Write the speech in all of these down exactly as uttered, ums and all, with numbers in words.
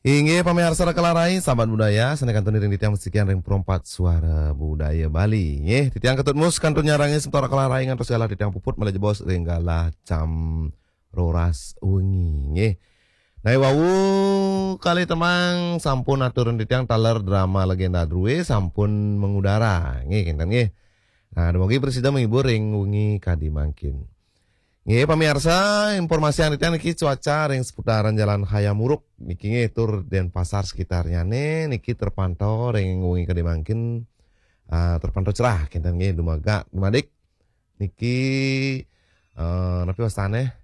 Inggih pamiarsa Rakalarai, sahabat budaya, sané kantun ring titiang masikian ring Perempat Suara Budaya Bali. Nggih, titiang Ketut Mus kantun nyarengin semeton Rakalarai ngantos galah titiang puput malih jebos ring galah jam roras wengi. Nggih. Nah, wau kalih tembang sampun aturan titiang taler drama Legenda Drué sampun mengudara. Nggih, kinten nggih. Nah, dumugi prasida menghibur ring wengi kadi mangkin. Nggih, pamiarsa, informasian titiang niki cuaca ring seputaran Jalan Hayam Wuruk niki nggih tur Denpasar sekitarnyané niki terpantau ring wengi kadi mangkin, ah, terpantau cerah kinten nggih dumadak dumadik niki, eh, napi wastané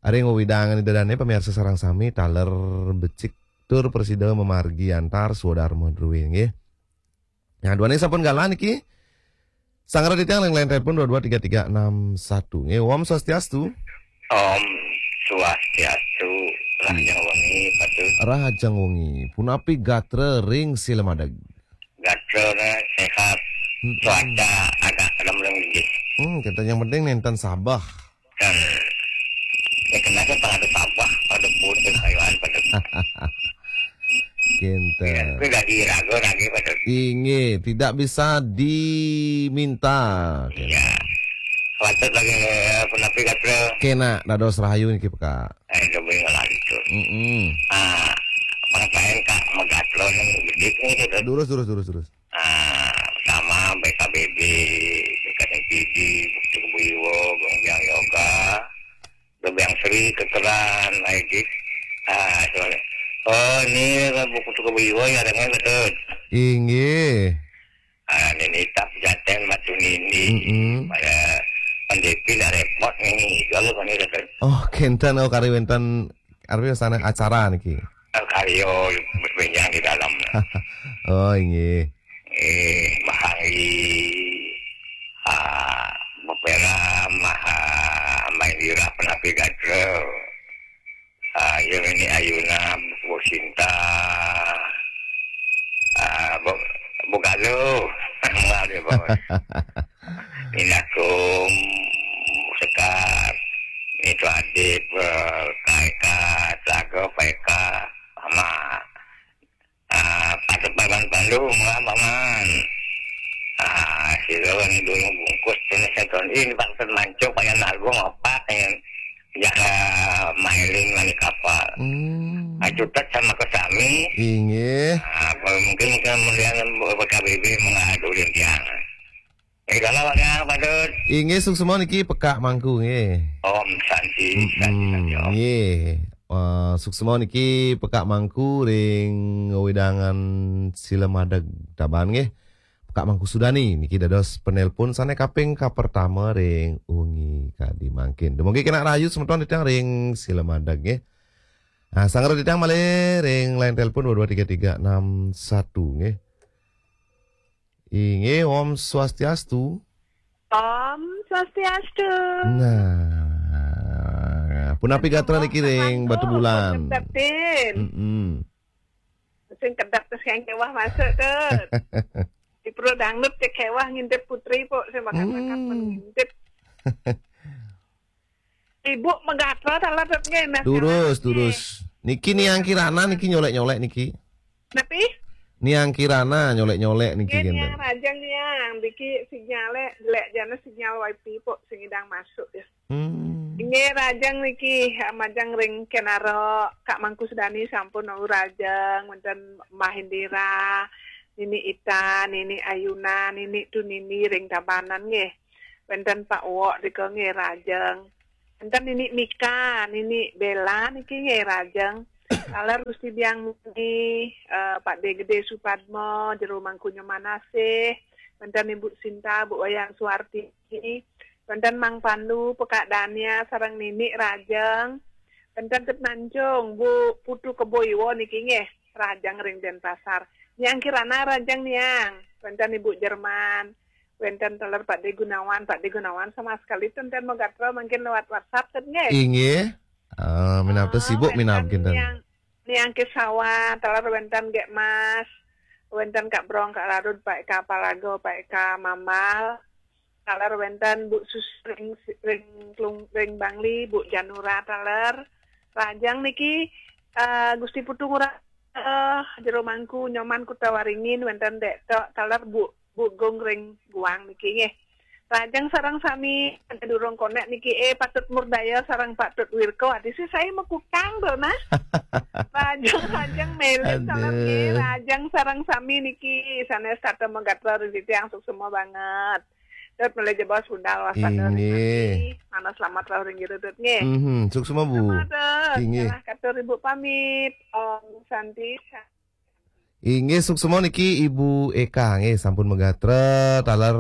ring wewidangan Ida Dané pamiarsa sareng sami taler becik tur prasida mamargi antar swadarma drué nggih. Nah, duaning sampun galah niki. Sanggra titiang ring line telepon dua dua tiga tiga enam satu. Nggih, Om Swastiastu. Om Swastiastu. Rahajeng wengi, Patut. Rahajeng wengi. Punapi gatra ring Silamadeg? Gatrané sehat. Mm-mm. Cuaca agak lemleng inggih. Hmm, kita yang penting nénten sabeh. Dan ya kenapa pada sabeh, pada putus kayuan, pada Kinten. Kuwi dadi raga lagi, Patut. Inggih, tidak bisa diminta. Iya. Patut lagi, eh, punapi gatra? Kénak, dados rahayu niki pekak. Eh, coba ngalih itu. Mm-mm. Ah, pengetahuan Kak Megatron yang gede nih, gitu. Durus, durus, durus, durus. Ah, sama B K B B, B K M P D, Bukti Kebo Iwa, Gong Biang Yoga, Gong Biang Sri, Kekeran, lagi. Ah, soalnya. Oh, ini kan buku Bukti Kebo Iwa ya, ada nggak, Patut? Inggih. Ah, ini tak jaten Batu Nini. Mm-mm. Pada Pandepi ndak repot nih, kalau kan ini kan. Oh, kinten, oh, kari wénten, arep sana acara niki. Karyo berbenjang di dalam. Oh, inggih. Eh, Mahangi, ah, Mapera, Maha, Main Dirah, Penapi Gatra. Ah, ya, ini Ayuna, Bu Sinta. Ah, Bu, Bu Galuh. Maaf ya, Bos. Minakum, Sekar. Itu Adit, eh, Kaika, Telaga, Paika, Mama. Ah, patut paman Pandu, mula paman. Ah, sira ni dulu bungkus, kena seton. Ini patut mancung, payah nalung, apa, yang jaga mailing, mani kapal. Hmm. Ah, cutet sama ke sami. Inggih. Ah, apa mungkin, mungkin kemudian B K B B mengadu rintian. Eh, kalau Bang Yang, Patut. Inggih, suksma niki Pekak Mangku, nggih. Om Santi, Santi, Mm-mm, Santi, Om. Nggih. Eh, suksma niki Pekak Mangku ring wewidangan Silamadeg Tabanan, nggih. Pekak Mangku Sudani niki dados penelpon sané kaping kapertama ring wengi kadi mangkin. Dumugi kenak rahayu semeton titiang ring Silamadeg, nggih. Nah, sanggra titiang malih ring line telepon dua dua tiga tiga enam satu, nggih. Inggih, Om Swastiastu. Om Swastiastu. Nah, punapi gatra niki ring Batubulan? Kedep-kedep. Mm-mm. Sing kedep terus yang kewah masuk tuh. Di Pro Dangdut ke kewah ngintip Putri, Pok, sing bakat-bakat. Hmm. Ngintip. Ibu Megatra taler nggih, Mas. Durus, durus. Niki Niang Kirana niki nyolek-nyolek niki. Napi? Niang Kirana nyolek-nyolek niki, nggih, kinten. Niang, rajeng Niang, niki sinyale, lek jane sinyal wifi, Pok, sing idang masuk ya. Hmm. Nggih, rajeng niki, majeng ring Kenaro, Kak Mangku Sudani sampun wau rajeng, wenten Mbah Indira, Nini Ita, Nini Ayuna, Nini Tunini ring Tabanan nggih. Wenten Pak Wok rika nggih rajeng. Wenten Nini Mika, Nini Bella niki nggih rajeng. Taler Gusti Biang Muni, eh, Pak De Gede Supadmo, Jero Mangkunyo Manasih, wenten Ibu Sinta, Bu Wayang Suwarti, wenten Mang Pandu, Pekak Dania, sareng Nini rajeng. Wenten Tet Mancung, Bu Putu Kebo Iwa niki nggih, rajeng ring Denpasar. Niang Kirana rajeng Niang, wenten Ibu Jerman. Wenten taler Pak De Gunawan, Pak De Gunawan sama sekali ten ten magatra mangkin lewat WhatsApp ten nggih. Inggih. Ah, minab ten sibuk minab kinten. Niang, Niang Kesawa, taler wenten Gek Mas, wenten Kak Brong, Kak Larud, Pak Eka Palago, Pak Eka Mambal, taler wenten Bu Sus ring, ring, Klung, ring Bangli, Bu Janura taler. Rajang niki, eh, Gusti Putu Ngurah. eh, jero mangku Nyoman Kuta Waringin wénten Dék Tok taler Bu Bu Gung ring Guang niki nggih. Lajeng sareng sami durung konek niki, eh, patut murdaya sareng patut wirka. Adi sih saya mekukang to nah. Lajeng lajeng melit taler nggih. Aduh. Lajeng sareng sami niki sanés tata magatra ring titiang suksma banget. Tut malih jebos budal waspada ring Inggih. Ati. Mana selamat rauh ring jero tut nggih. Mhm, suksma, Bu. Selamat, Tut. Inggih. Salah katur Ibu pamit. Om Santi. Inggih, suksma niki Ibu Eka nggih sampun magatra taler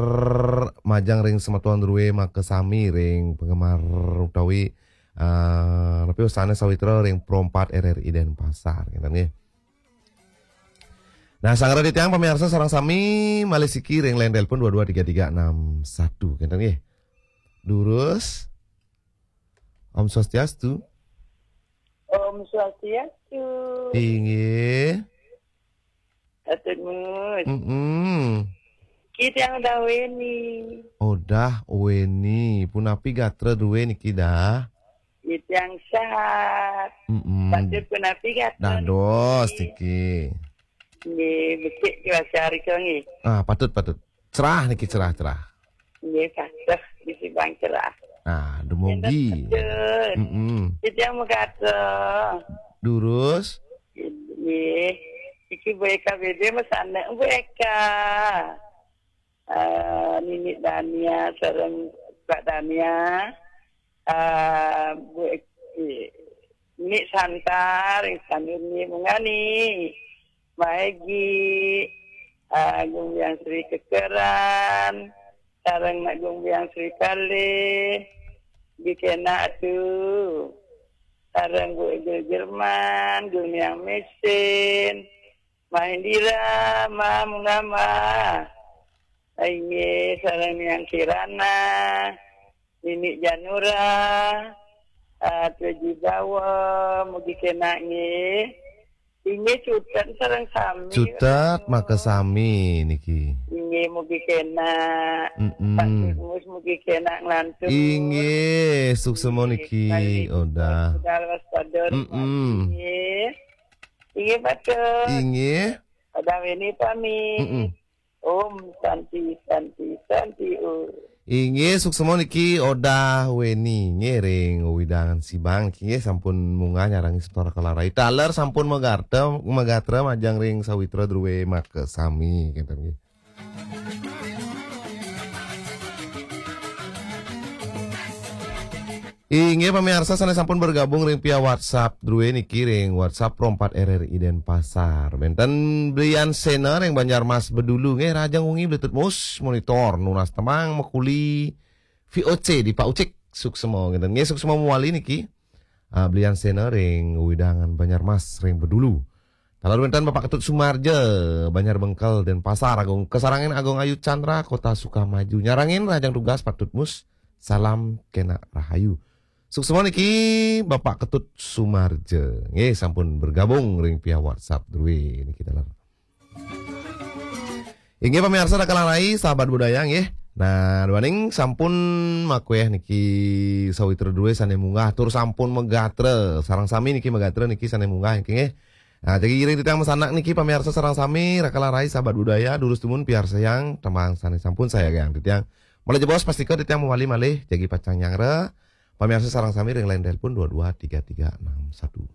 majeng ring semeton druwé makasami ring penggemar utawi, eh, napi wastané sawitra ring Pro empat R R I Denpasar, ngéten nggih. Nah, sangra titiang pamiarsa sareng sami malih siki ring line telepon dua dua tiga tiga enam satu, ngéten nggih. Durus. Om Swastiastu. Om Swastiastu. Inggih. Atur Mus. Mm-mm. Ki tiang Odah Weni. Odah Weni. Punapi gatra druwé niki dah? Ki tiang sehat. Mm-mm. Patut punapi gatra dados niki? Niki. Nggih, becik cuaca rika nggih. Ah, patut, patut. Cerah niki, cerah, cerah. Nggih, patut disibang cerah. Ah, dumugi. Betul. Mm-mm. Ki tiang magatra. Durus. Nggih. Iki Bu Eka B B masanek Bu Eka. Eh, Nini Dania sareng Pak Dania. Eh, Bu Eka, Nini Santa ring Sanur nggih, munggah Ni. Mahegi, eh, Gung Biang Sri Kekeran, sareng Mak Gung Biang Sri Kalih, di kena atu, sareng Bu Ega Jerman, Gung Biang Mesin, Mahendira, Ma, munggah Ma. Inggih, sareng Niang Kirana, Nini Janura, ah, Tuji Bawa, mugi kena nggih. Inggih, cutet sareng sami. Cutet, makasami niki. Inggih, mugi kena. Mm-mm. Pak Mus, mugi kena nglantur. Inggih, suksma niki, Odah. Budal waspada. Mm-mm. Inggih. Inggih, patut. Inggih. Odah Weni pamit. Mm-mm. Om Santi, Santi, Santi, Om. Inggih, suksma niki Odah Weni, nggih, ring wewidangan Sibang niki, nggih, sampun munggah nyarengin semeton Raka Larai. Taler sampun magatra, magatra majeng ring sawitra druwé makasami, ngéten nggih. Inggih pamiarsa sané sampun bergabung ring via WhatsApp druwé niki ring WhatsApp Pro empat R R I Denpasar. Wénten Brian Sena ring Banjarmas Bedulu nggih, rahajeng wengi Bli Tut Mus, monitor nunas tembang makuli V O C di Pak Ucik, suksma ngéten nggih, suksma mawali niki. Ah, Brian Sena ring wewidangan Banjarmas ring Bedulu. Taler wénten Bapak Ketut Sumarja, Banjar Bengkel, Denpasar, Agung kasarengin Agung Ayu Chandra, Kota Sukamaju. Nyarengin rahajeng tugas Pak Tut Mus. Salam kena rahayu. Suksma niki Bapak Ketut Sumarja. Nggih, sampun bergabung ring via WhatsApp druwé niki taler. Inggih pamiarsa Raka Larai, sahabat budaya nggih. Nah, duaning sampun makuéh niki sawitra druwé sané munggah tur sampun magatra. Sareng sami niki magatra niki sané munggah niki nggih. Nah, jagi iring titiang masanak niki pamiarsa sareng sami Raka Larai, sahabat budaya, durus dumun piarsayang tembang sané sampun sayagayang titiang. Malih jebos pastika titiang mawali malih jagi pacang nyangra. Pamiarsa sareng sami ring line telepon dua dua tiga tiga enam satu.